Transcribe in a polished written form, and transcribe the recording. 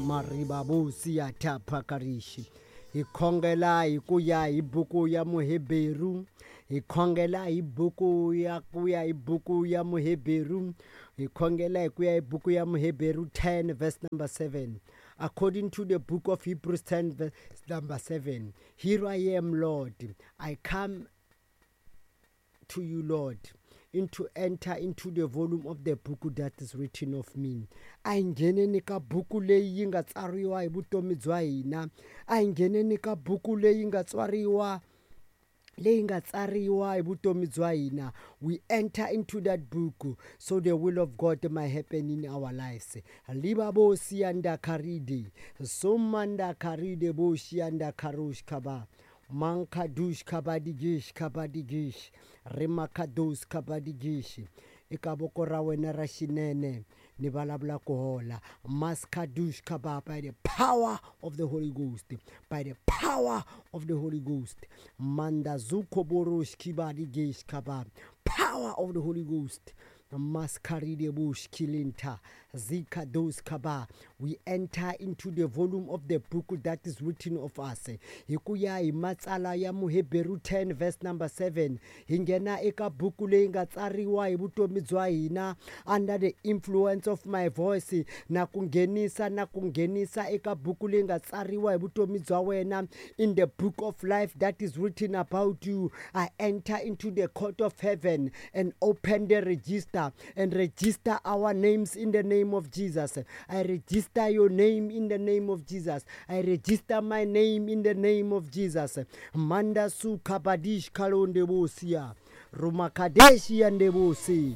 Maribabosi ya Thapakarishi. Hi khongela hi ku ya hi buku ya Muheberu. Hi khongela hi buku ya ku ya hi buku ya Muheberu. Hi khongela hi ku ya hi buku ya Muheberu 10 verse number 7. According to the book of Hebrews 10 verse number 7. Here I am, Lord. I come to you, Lord, into enter into the volume of the book that is written of me. A hi ngheneni ka buku leyi yi nga tsariwa hi vutomi bya hina. A hi ngheneni ka buku leyi nga tswariwa leyi nga tsariwa hi vutomi bya hina. We enter into that book so the will of God might happen in our lives. Libabosi anda karide, somanda karide boshi anda karush kaba. Mankadush kabadigish kabadigish, rimakados kabadigish. Eka voko ra wena ra xinene ni vulavula ku hola. Maskadush kaba, by the power of the Holy Ghost, by the power of the Holy Ghost. Manda zuko borosh kibadigish kaba, power of the Holy Ghost. Maskaride bush kilinta zika dos kaba. We enter into the volume of the book that is written of us. Hi ku ya hi matsala ya Muheberu 10 verse number 7, hi nghena eka buku leyi nga tsariwa hi vutomi bya hina under the influence of my voice. Na ku nghenisa, na ku nghenisa eka buku leyi nga tsariwa hi vutomi bya wena in the book of life that is written about you. I enter into the court of heaven and open the register and register our names in the name of Jesus. I register your name in the name of Jesus. I register my name in the name of Jesus. Manda su kabadish kalonde bosia. Rumakadeshi andebosi.